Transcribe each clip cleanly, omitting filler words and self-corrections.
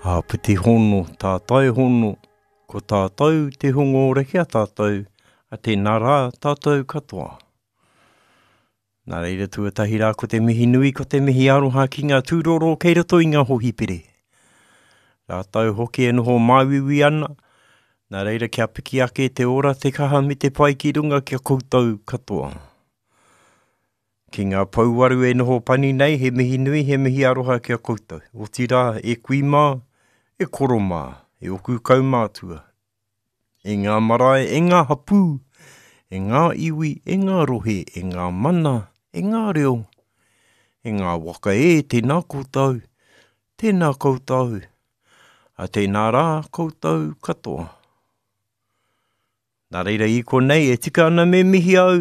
Āpiti hono, tātai hono, ko tātou te hunga ora ki a tātou, a tēnā rā tātou katoa. Nā reira tuatahi rā ko te mihi nui, ko te mihi aroha ki ngā tūroro kei roto i ngā hohipere. Rātou hoki e noho māuiui ana, nā reira kia piki ake te ora, te kaha me te pai ki runga ki a koutou katoa. Ki ngā pouwaru e noho pani nei, he mihi nui, he mihi aroha ki a koutou. Otirā, e kui mā, e koro mā, e oku kaumātua, e ngā marae, e ngā hapū, e ngā iwi, e ngā rohe, e ngā mana, e ngā reo, e ngā waka e, tēnā koutou, tēnā koutou, a tēnā rā koutou katoa. Nā reira i konei e tika ana me mihi au,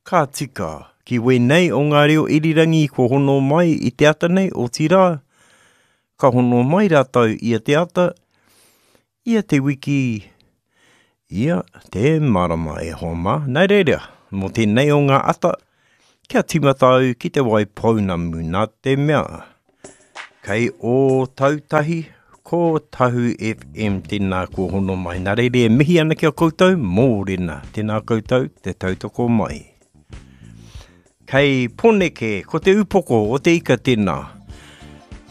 ka tika, ki wēnei o ngā reo irirangi kua hono mai i te ata nei, otirā, ka hono mai rātou ia te ata, ia te wiki, ia te marama e hoa mā. Nā reira, mō tēnei o ngā ata, Kia tīmata au ki te wai pounamu nā te mea kei Ōtautahi ko Tahu FM tēnā kua hono mai. Nā reira e mihi ana ki a koutou, mōrena, tēnā koutou te tautoko mai. Kei Poneke, ko te upoko o te ika tēnā.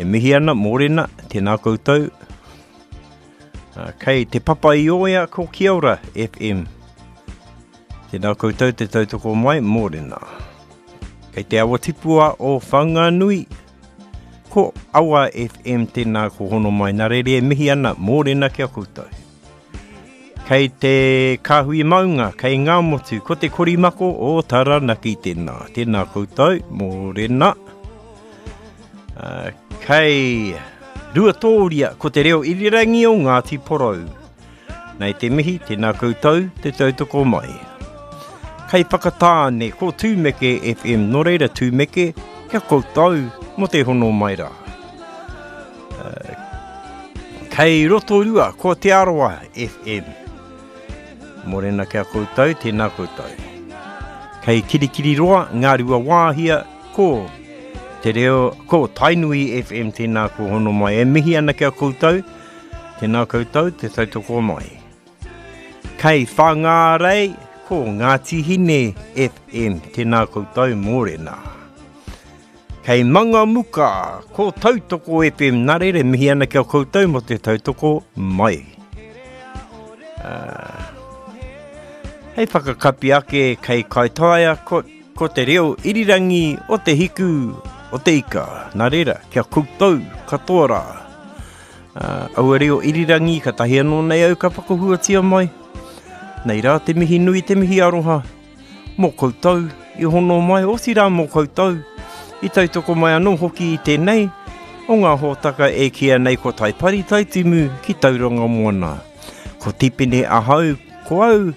E mihi ana, mōrena, tēnā koutou. Kei Te Papa-i-Oea ko Kia Ora FM. Tēnā koutou te tautoko mai, mōrena. Kei te awa tipua o Whanganui, ko Awa FM tēnā ko hono mai. Nā reira e mihi ana, mōrena ki a koutou. Kei te kāhui maunga, kei Ngāmotu, ko te korimako o Taranaki tēnā. Tēnā koutou, mōrena. Uh, kei Ruatōria, ko te reo irirangi o Ngāti Porou. Nei te mihi, tēnā koutou, te tautoko mai. Kei Whakatāne, ko Tūmeke FM, nō reira Tūmeke, kia koutou mō te hono mai rā. Uh, kei Rotorua, ko Te Arawa FM. Morena kia koutou, tēnā koutou. Kei Kirikiriroa, Ngāruawāhia, ko Te Reo, ko Tainui FM, tēnā ko hono mai. E mihi ana kia koutou, Tēnā koutou te tautoko mai. Kei Whangārei, ko Ngāti Hine FM, tēnā koutou mōrena. Kei Mangamuka, ko Tautoko FM, nā reira mihi ana ki a koutou mō te tautoko mai. Uh, hei whakakapi ake kei Kaitaia, ko, ko te reo irirangi o te hiku o te ika. Nā reira, kia koutou katoa rā. Uh, aua reo irirangi, ka tahi anō nei au ka whakahuatia mai. Nei rā te mihi nui, te mihi aroha, mō koutou i hono mai, otirā mō koutou i tautoko mai anō hoki i tēnei o ngā hōtaka e kīia nei ko Taipari Taitimu ki Tauranga Moana. Ko Tipene ahau, ko au,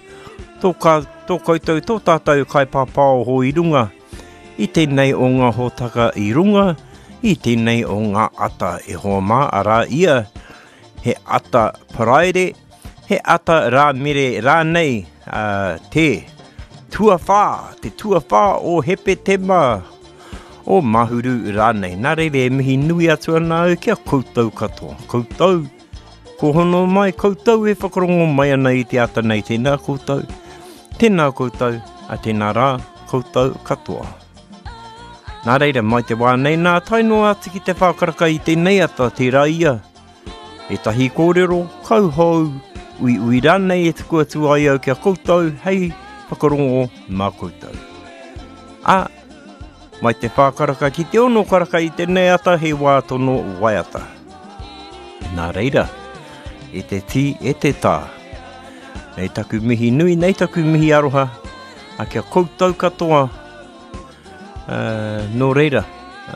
tō, ka, tō koutou, tō tātou kaipāpāoho i runga, i tēnei o ngā hōtaka i runga, i tēnei o ngā ata e hoa mā, arā ia, he ata paraire, he ata rāmere rānei, uh, te tuawhā, te tuawhā o Hepetema, o Mahuru rānei. Nā reira e mihi nui atu ana au ki a koutou katoa. Koutou, ko hono mai, koutou e whakarongo mai ana i te ata nei, tēnā koutou, tēnā koutou, a tēnā rā, koutou katoa. Nā reira, mai te wā nei nā, tae noa atu ki te whākaraka i tēnei ata, tērā ia, ētahi kōrero, kauhou, uiui rānei e tuku atu ai au ki a koutou hei whakarongo mā koutou. Ā, mai te whākaraka ki te ono karaka i tēnei ata he wā tono waiata. Nā reira, e te tī, e te tā, nei taku mihi nui, nei taku mihi aroha, a kia koutou katoa, uh, nō reira,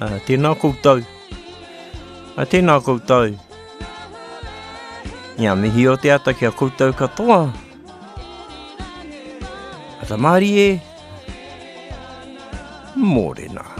uh, tēnā koutou, uh, tēnā koutou, Ia mihi o te ata kia koutou katoa. Ata mārie, mōrena.